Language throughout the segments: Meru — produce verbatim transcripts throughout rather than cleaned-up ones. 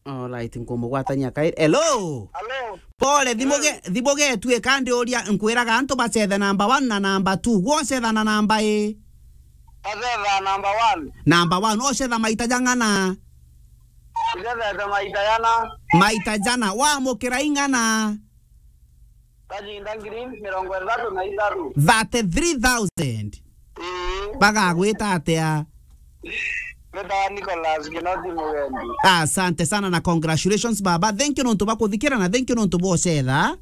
Alright, nkumugwatania kairi. Hello? Hello? Pole, thimu ge-, thimu getuika ndiuria, nkwiraga antu bacethe number one na number two. Gwe ucetha na number i? Acetha number one. Number one, ucetha maita jang'ana? Icethete maita jana. Maita jana, wamukira ing'ana? Kajinda ngiri mirongo ithatu na ithatu. Thirty-three thousand. Ii. Bagagwita atia? Mbitawa Nicholas Kinoti Mugendi. Asante sana na congratulations baba. Thank you nontu bakuthikira na thank you nontu bocetha.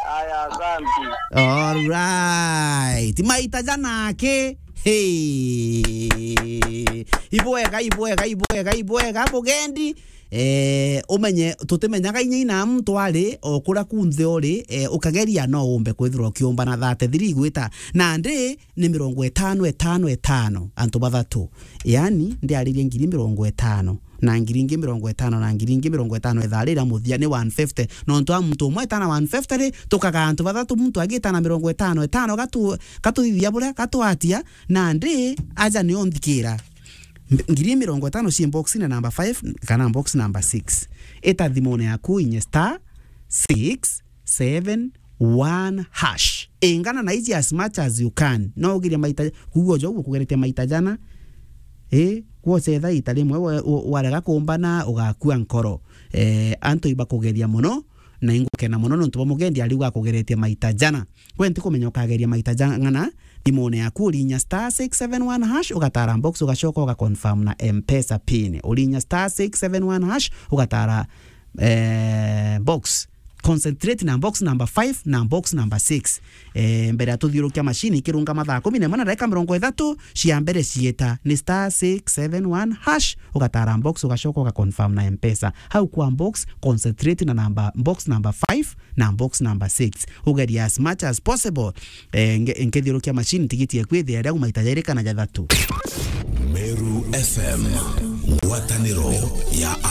Aya, asante. Alright. Maita jana aki. Hey. Ibwega, ibwega, ibwega, ibwega, Mugendi. Eh, umenye, tutimenyaga inya ina muntu ari, o kuria kunthe uri, eh, ukageria no umbe kwithirwa ukiumba na thirty-three igwita. Nandi ni mirongo itano, itano, itano, antu bathatu. Yani, ndiaririe ngiri mirongo itano, na ngiri ingi mirongo itano, na ngiri ingi mirongo itano, ithaa riria muthia ni one fifty. Nontu a muntu umwe etana one fifty ri, tukaga antu bathatu, muntu agitana mirongo itano, itano, gatu-, gatuthithia buria, gatwatia, nandi aja nio nthikira. Mb-, ngiri mirongo itano cie box na number five kana box number six. Ita thimune yaku inye star six seven one hash. Ingana na iji as much as you can. No ugerie maita, kuuga ujo gukugeretie maita jana. Eh, gwocetha ita rimwe we, we, warega kumbana, ugakua nkoro. Eh, antu ibakugeria muno, na ingukena muno nontu bwa Mugendi ariuga akugeretie maita jana. We ntikumenya ukageria maita jang'ana, thimune yaku urinya star six seven one hash, ugatara box, ugacoka ugaconfirm na M-Pesa pin. Urinya star six seven one hash, ugatara, eh, box. Concentrate na box number five na box number six. Eh, mbere ya tuthiurukia machine ikirunga mathaa kumi na imwe na ndagika mirongo ithatu cia mbere cieta, ni star six seven one hash, ugatara box, ugacoka ugaconfirm na M-Pesa. Hau kwa box, concentrate na number, box number five na box number six. Ugeria as much as possible. Eh, nge-, nkithiurukia machine, tigiti eku ithia riaku maita jairi kana jathatu. Meru F M, ngwataniro ya